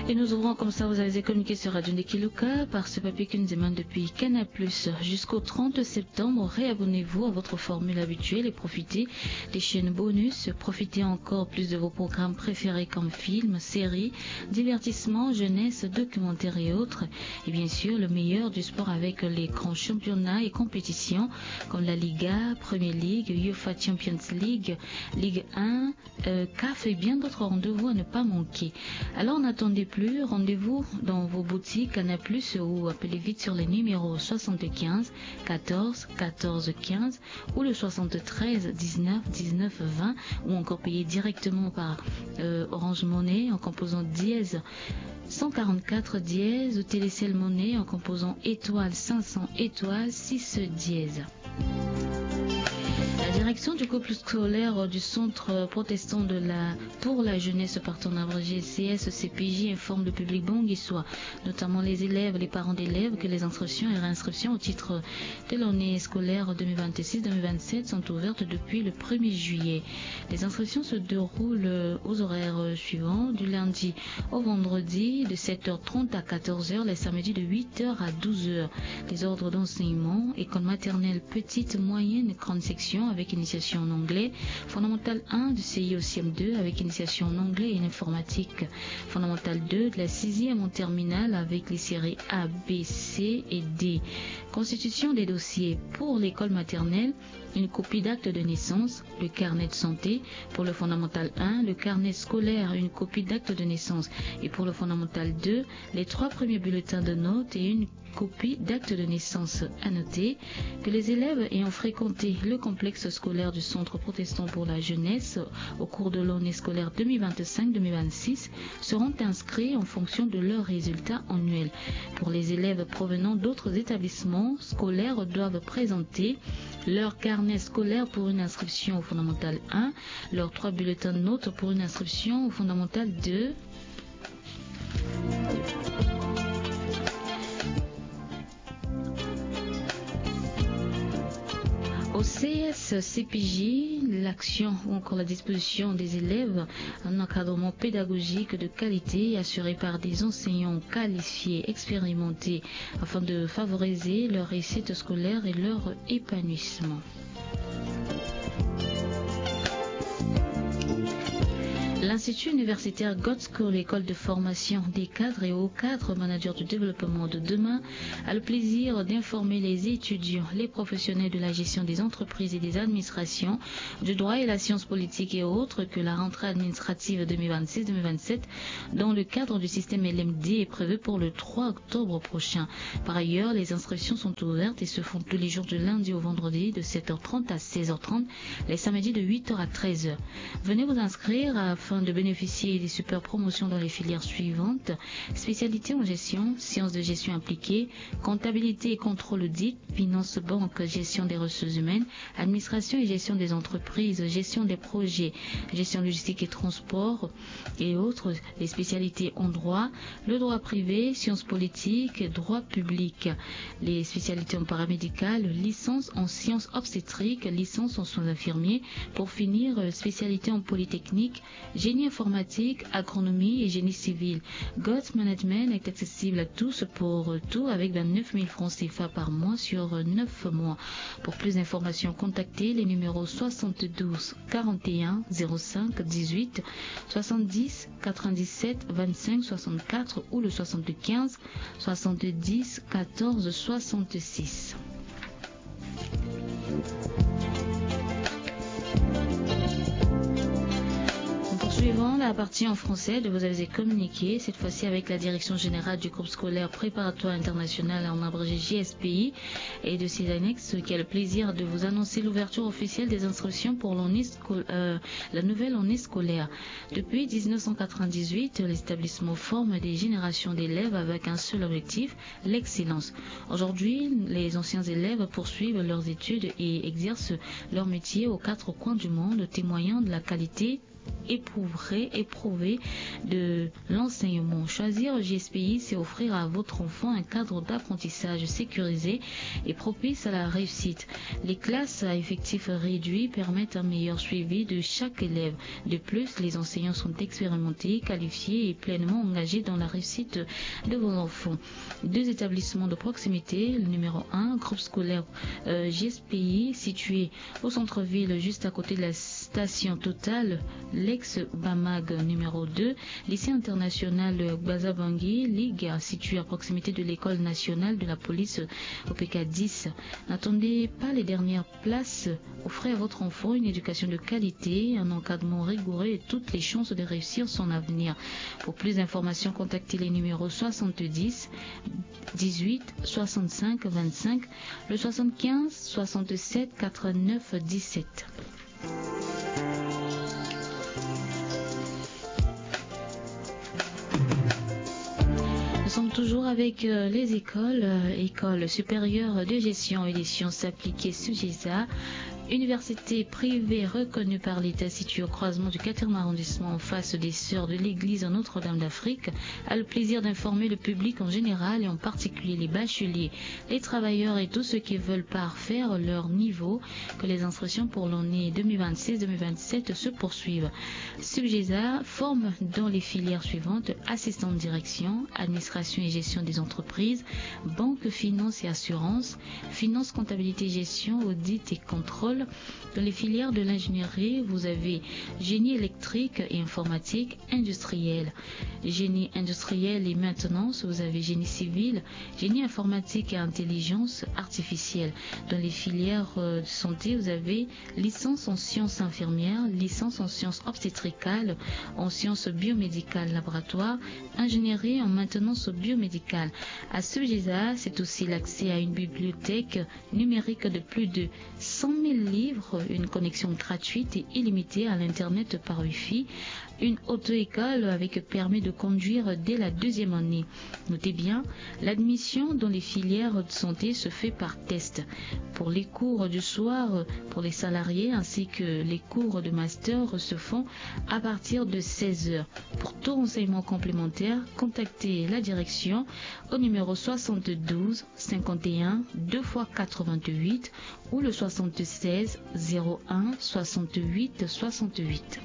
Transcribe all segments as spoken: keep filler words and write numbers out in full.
Et nous ouvrons comme ça, vous avez communiqué sur Radio Ndekiluka par ce papier qui nous émane depuis Canal Plus. Jusqu'au trente septembre, réabonnez-vous à votre formule habituelle et profitez des chaînes bonus. Profitez encore plus de vos programmes préférés comme films, séries, divertissements, jeunesse, documentaires et autres. Et bien sûr, le meilleur du sport avec les grands championnats et compétitions comme la Liga, Premier League, UEFA Champions League, Ligue un, euh, CAF et bien d'autres rendez-vous à ne pas manquer. Alors n'attendez plus, rendez-vous dans vos boutiques Canal Plus ou appelez vite sur les numéros soixante-quinze quatorze quatorze quinze ou le soixante-treize dix-neuf dix-neuf vingt ou encore payer directement par, euh, Orange Money en composant dièse cent quarante-quatre dièse ou Télécel Money en composant étoile cinq cents étoile six dièse. La direction du couple scolaire du centre protestant de la, pour la jeunesse, partenariat G C S C P J, informe le public banguissois, notamment les élèves, les parents d'élèves, que les inscriptions et réinscriptions au titre de l'année scolaire deux mille vingt-six deux mille vingt-sept sont ouvertes depuis le premier juillet. Les inscriptions se déroulent aux horaires suivants, du lundi au vendredi de sept heures trente à quatorze heures, les samedis de huit heures à douze heures. Les ordres d'enseignement: école maternelle, petite, moyenne, grande section avec initiation en anglais, fondamentale un du C I au C M deux avec initiation en anglais et en informatique, fondamentale deux de la sixième en terminale avec les séries A, B, C et D. Constitution des dossiers: pour l'école maternelle, une copie d'acte de naissance, le carnet de santé, pour le fondamental un, le carnet scolaire, une copie d'acte de naissance, et pour le fondamental deux, les trois premiers bulletins de notes et une copie d'acte de naissance. À noter que les élèves ayant fréquenté le complexe scolaire du Centre protestant pour la jeunesse au cours de l'année scolaire deux mille vingt-cinq deux mille vingt-six seront inscrits en fonction de leurs résultats annuels. Pour les élèves provenant d'autres établissements scolaires, doivent présenter leur carnet scolaire pour une inscription au fondamental un, leurs trois bulletins de notes pour une inscription au fondamental deux. Au C S C P J, l'action ou encore la disposition des élèves, un encadrement pédagogique de qualité assuré par des enseignants qualifiés, expérimentés, afin de favoriser leur réussite scolaire et leur épanouissement. L'Institut universitaire Godschool, école de formation des cadres et hauts cadres, managers du développement de demain, a le plaisir d'informer les étudiants, les professionnels de la gestion des entreprises et des administrations, du droit et la science politique et autres que la rentrée administrative deux mille vingt-six deux mille vingt-sept dans le cadre du système L M D est prévue pour le trois octobre prochain. Par ailleurs, les inscriptions sont ouvertes et se font tous les jours du lundi au vendredi de sept heures trente à seize heures trente, les samedis de huit heures à treize heures. Venez vous inscrire afin de bénéficier des super promotions dans les filières suivantes: spécialité en gestion, sciences de gestion appliquée, comptabilité et contrôle audit, finance, banque, gestion des ressources humaines, administration et gestion des entreprises, gestion des projets, gestion logistique et transport et autres, les spécialités en droit, le droit privé, sciences politiques, droit public, les spécialités en paramédical, licence en sciences obstétriques, licence en soins infirmiers, pour finir, euh, spécialité en polytechnique, génie informatique, agronomie et génie civil. Gods Management est accessible à tous pour tout avec vingt-neuf mille francs C F A par mois sur neuf mois. Pour plus d'informations, contactez les numéros soixante-douze quarante et un zéro cinq dix-huit, soixante-dix quatre-vingt-dix-sept vingt-cinq soixante-quatre ou le soixante-quinze soixante-dix quatorze soixante-six. Nous poursuivons la partie en français de vos avis et communiqués, cette fois-ci avec la Direction Générale du Groupe Scolaire Préparatoire International, en abrégé G S P I, et de ses annexes, qui a le plaisir de vous annoncer l'ouverture officielle des inscriptions pour l'année sco-, euh, la nouvelle année scolaire. Depuis dix-neuf cent quatre-vingt-dix-huit, l'établissement forme des générations d'élèves avec un seul objectif, l'excellence. Aujourd'hui, les anciens élèves poursuivent leurs études et exercent leur métier aux quatre coins du monde, témoignant de la qualité éprouver, éprouver de l'enseignement. Choisir G S P I, c'est offrir à votre enfant un cadre d'apprentissage sécurisé et propice à la réussite. Les classes à effectifs réduits permettent un meilleur suivi de chaque élève. De plus, les enseignants sont expérimentés, qualifiés et pleinement engagés dans la réussite de vos enfants. Deux établissements de proximité, le numéro un, groupe scolaire, euh, G S P I, situé au centre-ville, juste à côté de la station Total, l'ex Bamag numéro deux, lycée international Gbazabangui, Ligue, situé à proximité de l'école nationale de la police, O P K dix. N'attendez pas les dernières places. Offrez à votre enfant une éducation de qualité, un encadrement rigoureux et toutes les chances de réussir son avenir. Pour plus d'informations, contactez les numéros soixante-dix, dix-huit, soixante-cinq, vingt-cinq, le soixante-quinze, soixante-sept, quatre-vingt-neuf, dix-sept. Nous sommes toujours avec, euh, les écoles, euh, École supérieure de gestion et des sciences appliquées, SUGESA, université privée reconnue par l'État située au croisement du quatrième arrondissement en face des Sœurs de l'Église Notre-Dame d'Afrique, a le plaisir d'informer le public en général et en particulier les bacheliers, les travailleurs et tous ceux qui veulent parfaire leur niveau que les inscriptions pour l'année deux mille vingt-six deux mille vingt-sept se poursuivent. SUGESA forme dans les filières suivantes: assistant de direction, administration et gestion des entreprises, banque, finance et assurance, finance, comptabilité, gestion, audit et contrôle. Dans les filières de l'ingénierie, vous avez génie électrique et informatique, industriel, génie industriel et maintenance, vous avez génie civil, génie informatique et intelligence artificielle. Dans les filières, euh, de santé, vous avez licence en sciences infirmières, licence en sciences obstétricales, en sciences biomédicales laboratoires, ingénierie en maintenance biomédicale. À SUGESA, c'est aussi l'accès à une bibliothèque numérique de plus de cent mille livres, une connexion gratuite et illimitée à l'Internet par Wi-Fi, une auto-école avec permis de conduire dès la deuxième année. Notez bien, l'admission dans les filières de santé se fait par test. Pour les cours du soir, pour les salariés, ainsi que les cours de master se font à partir de seize heures. Pour tout renseignement complémentaire, contactez la direction au numéro soixante-douze cinquante et un deux fois quatre-vingt-huit ou le soixante-seize zéro un soixante-huit soixante-huit.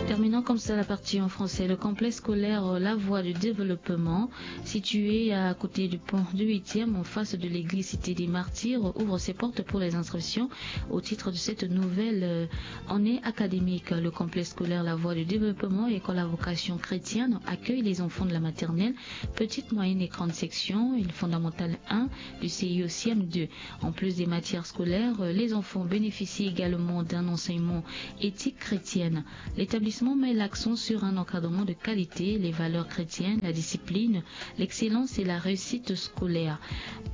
Terminons comme ça la partie en français. Le complexe scolaire, euh, La Voie du Développement, situé à côté du pont du huitième, en face de l'église Cité des Martyrs, ouvre ses portes pour les inscriptions au titre de cette nouvelle, euh, année académique. Le complexe scolaire La Voie du Développement, école à vocation chrétienne, accueille les enfants de la maternelle, petite, moyenne et grande section, et le fondamental un du C I au C M deux. En plus des matières scolaires, euh, les enfants bénéficient également d'un enseignement éthique chrétienne. L'établissement met l'accent sur un encadrement de qualité, les valeurs chrétiennes, la discipline, l'excellence et la réussite scolaire.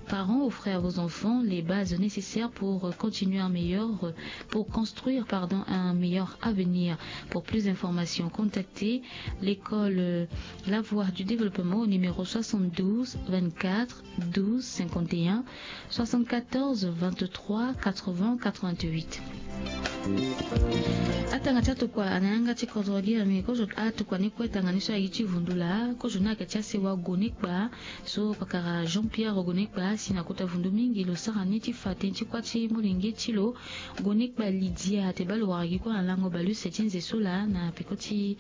Parents, offrez à vos enfants les bases nécessaires pour continuer un meilleur, pour construire, pardon, un meilleur avenir. Pour plus d'informations, contactez l'école, euh, La Voie du Développement au numéro soixante-douze vingt-quatre douze cinquante et un, soixante-quatorze vingt-trois quatre-vingts quatre-vingt-huit. Atanga ti atokua na yanga ti kodro gi ami kozo atokua ni kue tanga ni so ayeke ti vundu laa kozo ni ayeke ti asewa Gonekpa. So pakara Jean Pierre Gonekpa asi na kota vundu mingi lo sara ni ti fa tënë ti kuâ ti molenge ti lo. Gonekpa Lydia ate baa lo wara gi kue na lango baleuse ti nze so laa na peko ti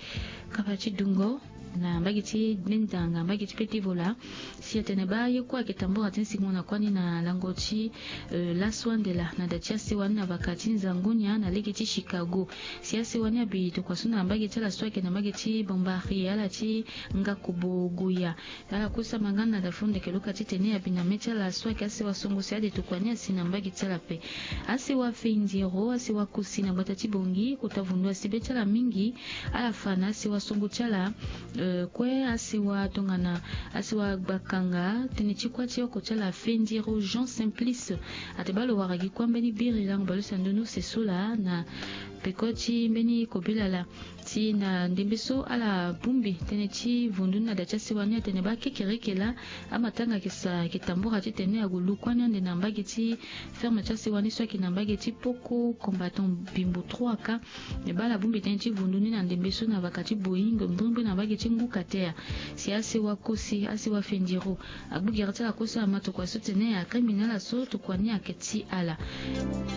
kapa ti dungo na mbage ti Bendanga, mbage ti Petevola. Si atene baa ye kue ayeke tambura ti nsingo na kuâ ni na lango ti, euh, laso ande laa na da ti asewa ni na vaka ti nzangu nya na lege ti Chicago. Si asewa ni abi tokua so na mbage ti ala so ayeke na mbage ti Bambari ala ti Ngakobo Goya. Ala kusa mangana da fo ndeke luka titene abi na mê ti ala so ayeke asewa songo si ade tokua ni asi na mbage ti ala ape. Asewa Fendiro, asewa Kosi na gbata ti Bongi, kota vundu asi be ti ala mingi. Ala fa na asewa songo ti ala, euh, kue asewa tongana asewa Gbakanga, tënë ti kuâ ti oko ti ala Fendiro Jean Simplice. Ate baa lo wara gi kuâ mbeni biri lango baleuse na ndoni use so laa na peko ti mbeni kobela laa. Ti na ndembe so ala bongbi tënë ti vundu ni na da ti asewa ni atene baa kekereke laa amatanga ayeke sa ayeke tambura titene ague lu kue ni ande na mbage ti ferme ti asewa ni so ayeke na mbage ti Poko Combattant Bimbo trois ka. Me baa ala bongbi tënë ti vundu ni na ndembe so na vaka ti Boeing mbrimbri na mbage ti Ngukatea. Si asewa Kosi, asewa Fendiro, agbu gere ti ala kue so ama tokua so tene akangbi na ala so tokua ni ayeke ti ala.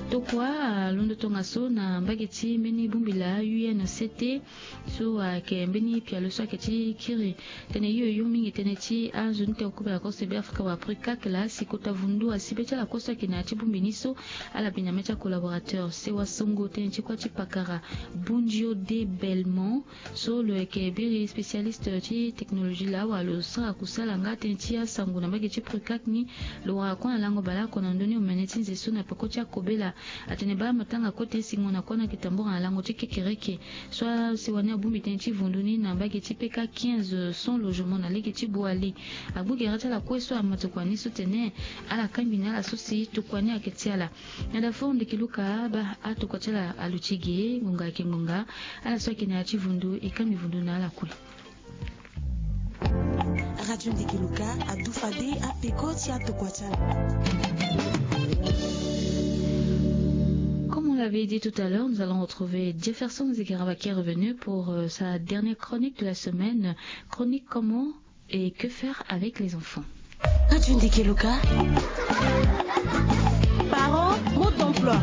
Tokua alondo tongaso na mbage ti mbeni bongbi laa U N C T so ayeke mbeni pialo so ayeke ti kiri tënë hio hio mingi tënë ti anzoni teko kobela kose Be Afrika wala PRICAC laa si kota vundu asi be ti ala kue so ayeke na ya ti bongbi ni so ala bi na mê ti acollaborateur sewa songo tënë ti kuâ ti pakara Bundio de Belmont. So lo yeke biri spécialiste ti technologie laa wala lo sara kusala nga tënë ti asango na mbage ti PRICAC ni. Lo wara kue na lango baleoko na ndö ni omene ti nze so na peko ti akobela. Atene baa amatanga kue tënë singo na kue ni ayeke tambura na lango ti kekereke. So asewa ni abongbi tënë ti vundu ni na mbage ti P K quinze sans logement na lege ti Boali. Agbu gere ti ala kue so ama tokua ni so tene ala kangbi na ala so si tokua ni ayeke ti ala. Na da fort ndeke Luka baa atokua ti ala aluti ge ngonga ayeke ngonga. Ala so ayeke na ya ti vundu e kangbi vundu na ala kue. Radio Ndeke Luka adu fade apeko ti atokua ti ala. Comme on l'avait dit tout à l'heure, nous allons retrouver Jefferson Zikaraba qui est revenu pour euh, sa dernière chronique de la semaine. Chronique comment et que faire avec les enfants ? Radio Ndeke Luka. Parents, mode d'emploi.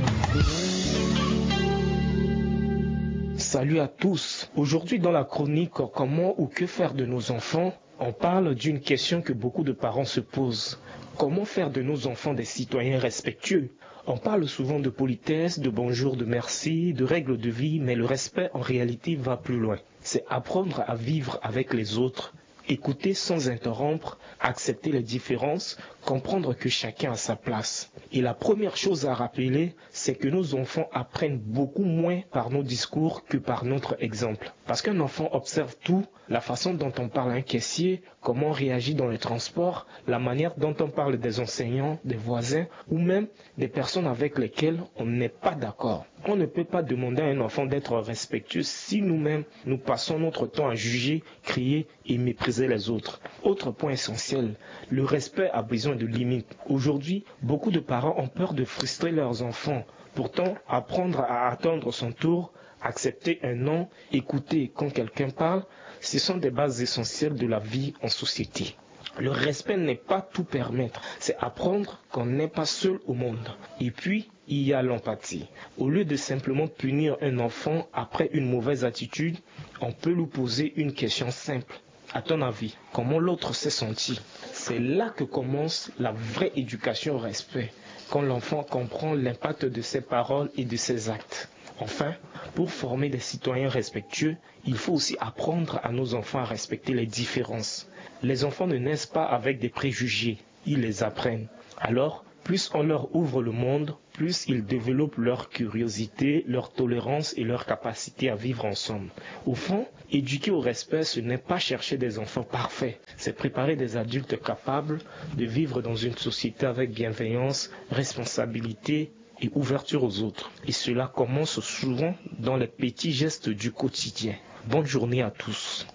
Salut à tous. Aujourd'hui dans la chronique comment ou que faire de nos enfants, on parle d'une question que beaucoup de parents se posent. Comment faire de nos enfants des citoyens respectueux ? On parle souvent de politesse, de bonjour, de merci, de règles de vie, mais le respect en réalité va plus loin. C'est apprendre à vivre avec les autres, écouter sans interrompre, accepter les différences, comprendre que chacun a sa place. Et la première chose à rappeler, c'est que nos enfants apprennent beaucoup moins par nos discours que par notre exemple. Parce qu'un enfant observe tout, la façon dont on parle à un caissier, comment on réagit dans les transports, la manière dont on parle des enseignants, des voisins ou même des personnes avec lesquelles on n'est pas d'accord. On ne peut pas demander à un enfant d'être respectueux si nous-mêmes, nous passons notre temps à juger, crier et mépriser les autres. Autre point essentiel, le respect a besoin de limites. Aujourd'hui, beaucoup de parents ont peur de frustrer leurs enfants. Pourtant, apprendre à attendre son tour, accepter un non, écouter quand quelqu'un parle, ce sont des bases essentielles de la vie en société. Le respect n'est pas tout permettre, c'est apprendre qu'on n'est pas seul au monde. Et puis, il y a l'empathie. Au lieu de simplement punir un enfant après une mauvaise attitude, on peut lui poser une question simple. À ton avis, comment l'autre s'est senti ? C'est là que commence la vraie éducation au respect, quand l'enfant comprend l'impact de ses paroles et de ses actes. Enfin, pour former des citoyens respectueux, il faut aussi apprendre à nos enfants à respecter les différences. Les enfants ne naissent pas avec des préjugés, ils les apprennent. Alors, plus on leur ouvre le monde, plus ils développent leur curiosité, leur tolérance et leur capacité à vivre ensemble. Au fond, éduquer au respect, ce n'est pas chercher des enfants parfaits, c'est préparer des adultes capables de vivre dans une société avec bienveillance, responsabilité et ouverture aux autres. Et cela commence souvent dans les petits gestes du quotidien. Bonne journée à tous.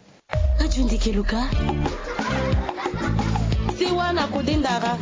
Radio Ndeke Luka. Sewa na kode ndara.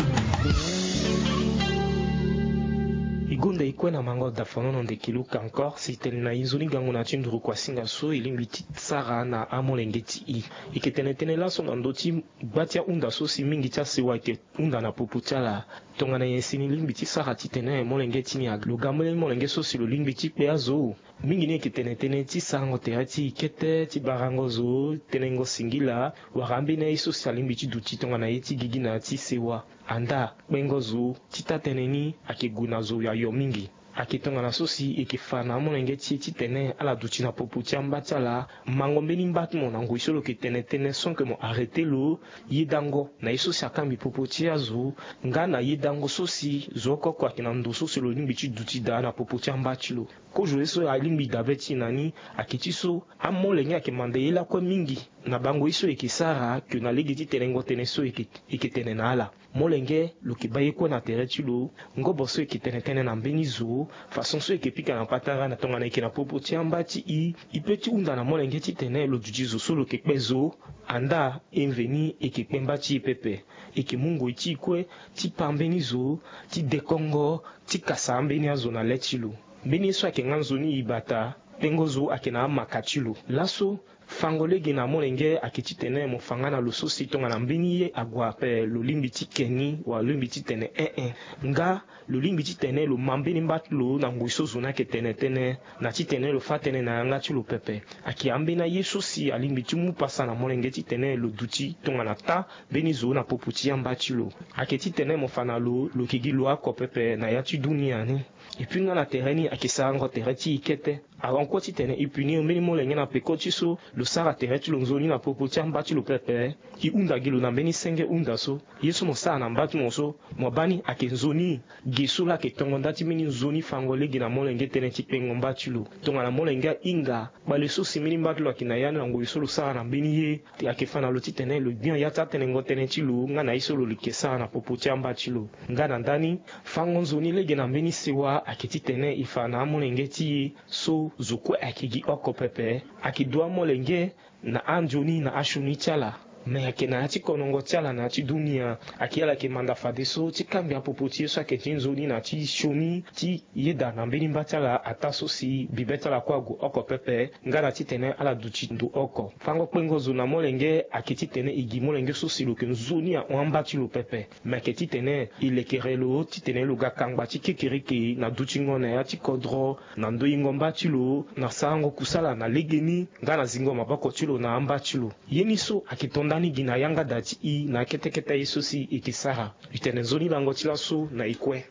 E gonda e kue na mango dafanono Ndeke Luka encore si tene na e nzoni gango na ya ti nduru kuasinga so e lingbi ti sara na amolenge ti e. E yeke tene tënë laso na ndö ti gba ti ahunda so si mingi ti asewa ayeke hunda na popo ti ala. Tongana nyen si ni lingbi ti sara titene molenge ti ni aga lo ga mbeni molenge so si lo lingbi ti kpe azo? Mingi ni yeke tene tënë ti sarango tere ti e kete, ti barango zo, tenengo singila, wala ambeni aye so si alingbi ti duti tongana ye ti gigi na ya ti sewa. Andaa kpengo zo ti taa-tënë ni ayeke gue na zo ayo mingi. Ayeke tongana so si e yeke fa na amolenge ti e titene ala duti na popo ti amba ti ala, mango mbeni mba ti mo na ngoi so lo yeke tene tënë sans que mo arrêter lo, yedango na ye so si akangbi popo ti azo, nga na yedango so si zo oko oko ayeke na ndo so si lo lingbi ti duti daa na popo ti amba ti lo. Kozo ye so alingbi dabe ti e na ni ayeke ti so amolenge ayeke manda ye lakue mingi na bango ye so e yeke sara ke na lege ti tenengo tënë so e yeke, e yeke tene na ala. Molenge lo yeke baa ye kue na tere ti lo. Ngobo so e yeke tene tënë na mbeni zo, façon so e yeke pika na patara na tongana e yeke na popo ti amba ti e, e peut ti hunda na molenge titene lo duti zo so lo yeke kpe zo. Andaa e mveni e yeke kpe mba ti e pepe. E yeke mu ngoi ti e kue ti paa mbeni zo, ti dekongo, ti kasa ambeni azo na le ti lo. Mbeni ye so ayeke nga nzoni e bata, kpengo zo ayeke na amaka ti lo. Laso, fango lege na molenge ayeke titene mo fa nga na lo so si tongana mbeni ye ague ape lo lingbi ti ke ni wala lo lingbi titene eh eh. Nga lo lingbi titene lo ma mbeni mba ti lo na ngoi so zo ni ayeke tene tënë, na titene lo fâ tënë na yanga ti lo pepe. Ayeke ambeni aye so si alingbi ti mu pasa na molenge titene lo duti tongana taa mbeni zo na popo ti amba ti lo. Ayeke titene mo fa na lo, lo yeke gi lo oko pepe na ya ti dunia ni. Et puis nga na tere ni ayeke sarango tere ti e kete. Awan kue titene e punir mbeni molenge na peko ti so lo sara tere ti lo nzoni na popo ti amba ti lo pepe, e hunda gi lo na mbeni senge hunda so. Ye so mo sara na mba ti mo so, mo baa ni ayeke nzoni. Ge so laa ayeke tongo nda ti mbeni nzoni fango lege na molenge tënë ti kpengo mba ti lo. Tongana molenge ahinga, kpale so si mbeni mba ti lo ayeke na ya ni na ngoi so lo sara na mbeni ye, ayeke fa na lo titene lo gbia ya ti atenengo tënë ti lo nga na ye so lo yeke sara na popo ti amba ti lo. Nga na ndani, fango nzoni lege na mbeni sewa ayeke titene e fa na amolenge ti e so zo kue ayeke gi oko pepe. Ayeke du amolenge na anzoni na asioni ti ala. Me ayeke na ya ti konongo ti ala na ya ti dunia. Ayeke ala yeke manda fadeso ti kangbi apopo ti ye so ayeke ti nzoni na ti sioni ti yeda na mbeni mba ti ala ataa so si bibe ti ala kue ague oko pepe. Nga na titene ala duti ndo oko. Fango kpengo zo na molenge ayeke titene e gi molenge so si lo yeke nzoni ahon amba ti lo pepe. Me ayeke titene e lekere lo titene lo ga kangba ti kekereke na dutingo na ya ti kodro, na ndoyingo mba ti lo, na sarango kusala na legeni, nga na zingo maboko ti lo na amba ti lo. Ye ni so ayeke to nda ni gi na yanga da ti e na akete kete aye so si e yeke sara. E tene nzoni lango ti laso na e kue.